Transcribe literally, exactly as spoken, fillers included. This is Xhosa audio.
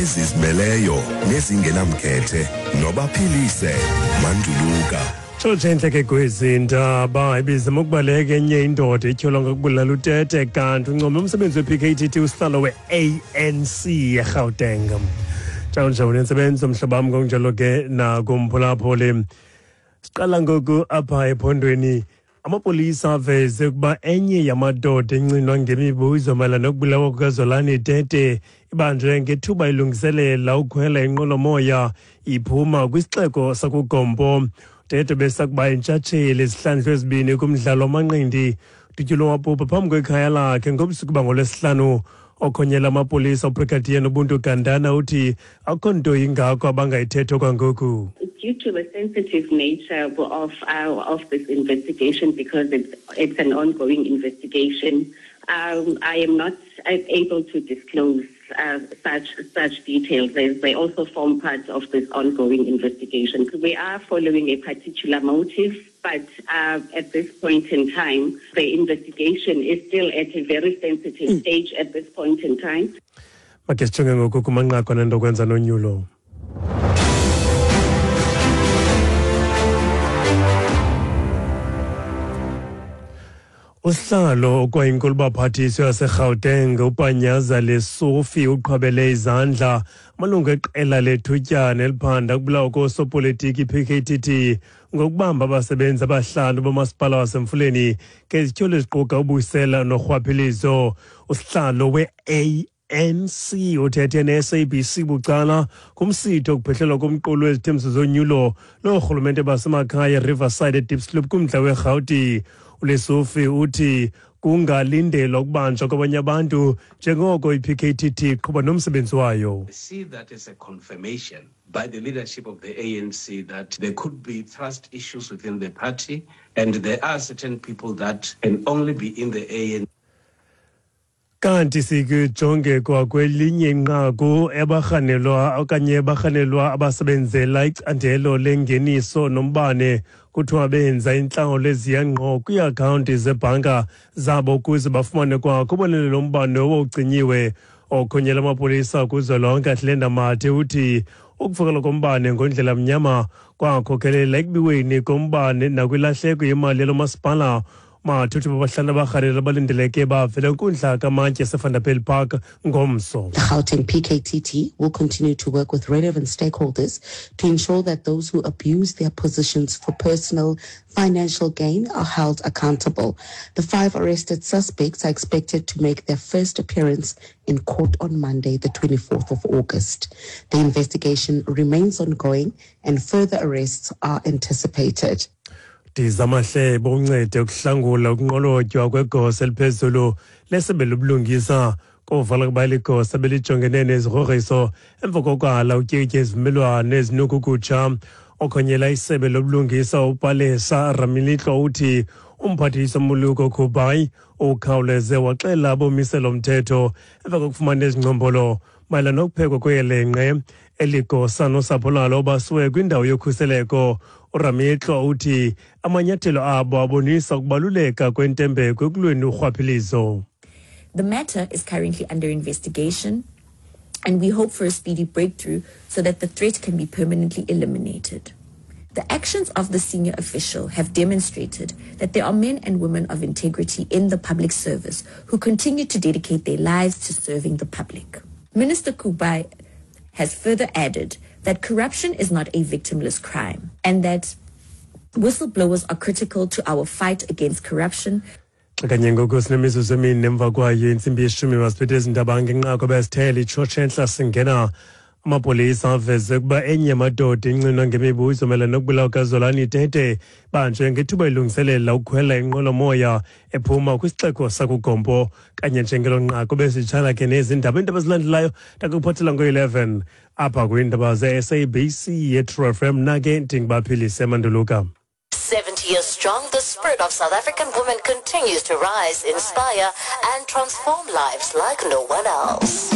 Ezizimeleyo nezingenamkhethe nobaphilise Manduluka. Tshotshe ke kwezi ndaba ibizama ukubaleka enye indoda ityholwa ngokubulala utete kanti uncome umsebenzi we-P K T T usihlalo we-A N C eGauteng. Njalo nentsebenzo mhlobo wam ngokunjalo ke nakumphulaphuli. Siqala ngoku apha ephondweni. Amapolisa aveze ukuba enye yamadoda encinwa ngemibuzo mayelana nokubulawa kukaZolani Tete ibanjwe ngethuba ilungiselela ukukhwela inqwelomoya iphuma kwisixeko sakuGompo. Tete besakuba intshatsheli izihlandlo ezibini kumdlalo wamanqindi udutyulwe wabhubha phambi kwekhaya lakhe ngobusuku bangolwesihlanu. Okhonyela amapolisa uBrigadier Nobuntu Gandana uthi akukho nto ingako abangayithetha kwangoku. Due to the sensitive nature of uh, of this investigation, because it's it's an ongoing investigation, um, I am not able to disclose uh, such such details, as they also form part of this ongoing investigation. We are following a particular motive, but uh, at this point in time, the investigation is still at a very sensitive mm. stage at this point in time. Make sijonge ngoku kumanqaku anento kwenza nonyulo. Usihlalo okwayinkulubaphathiswa yaseGauteng uPanyaza Lesufi uqhwabele izandla amalungu eqela lethutyana eliphanda ukubulawa koosopolitiki i-P K T T ngokubamba abasebenzi abahlanu bomasipala waseMfuleni ngezityholo eziquka ubusela norhwaphilizo. Usihlalo we-A N C uthethe ne-S A B C bucala kumsitho okuphehlelwa komqulu wezithembiso zonyulo loorhulumente basemakhaya eRiverside eDiepsloot kumdla weRhawuti. uLesufi uthi kungalindelwa ukubanjwa kwabanye abantu njengoko i-P K T T iqhuba nomsebenzi wayo. I see that as a confirmation by the leadership of the A N C that there could be trust issues within the party, and there are certain people that can only be in the A N C. Kanti sikujonge kwakwelinye inqaku ebarhanelwa okanye barhanelwa abasebenzela icandelo lengeniso nombane kuthiwa benza intlawulo eziya ngqo kwiiakhawunti zebhanka zabo ukuze bafumane kwakho ubonelelo lombane owawucinyiwe. Okhonyela amapolisa kuzwelonke Athlenda Mathe uthi ukuvukela kombane ngondlela mnyama kwakhokelela ekubiweni kombane nakwilahleko yemali yalo masipala. Mathe uthi babahlanu abarhanelwa balindeleke bavele kwinkundla kamantyi yaseVanderbijl Park ngomso. The Gauteng P K T T will continue to work with relevant stakeholders to ensure that those who abuse their positions for personal financial gain are held accountable. The five arrested suspects are expected to make their first appearance in court on Monday, the twenty-fourth of August. The investigation remains ongoing and further arrests are anticipated. Dizamahlebo uncede ukuhlangula ukunqolotywa kwegosa eliphezulu lesebe lobulungisa kovala kuba ligosa belijongene nezigrogriso emva kokwala utyikitya izivumelwano ezinukukutsha. Okhonyela isebe lobulungisa uPalesa Ramilitlo uthi umphathiswa Muluko Kubayi ukhawuleze waxela abomiselo mthetho emva kokufumana ezingcombolo mayelana nokuphekwa kweyelenqe. Eligosa nosapho lalo basiwe kwindawo yokhuseleko. uRamitlo uthi amanyathelo abo abonisa ukubaluleka kwentembeko ekulweni urhwaphilizo. The matter is currently under investigation and we hope for a speedy breakthrough so that the threat can be permanently eliminated. The actions of the senior official have demonstrated that there are men and women of integrity in the public service who continue to dedicate their lives to serving the public. Minister Kubai has further added that corruption is not a victimless crime and that whistleblowers are critical to our fight against corruption. Kanye ngoku sinemizuzu emine emva kwayo intsimbi yeshumi masiphethe ezindaba ngenqaku besithele itshotshe entla singena. Amapolisa aveze ukuba enye yamadoda incinwa ngemibuzo mayelana nokubulawa kukaZolani Tete banjwe ngethuba ilungiselela ukukhwela inqwelomoya ephuma kwisixeko sakuGompo. Kanye njengelo nqaku besitshala ke nezindaba iindaba ezilandelayo ndakuphathela ngo-eleven apha kwiindaba ze-S A B C yeTrue F M. Nake ndingubaphilise Manduluka. seventy years strong, the spirit of South African women continues to rise, inspire, and transform lives like no one else.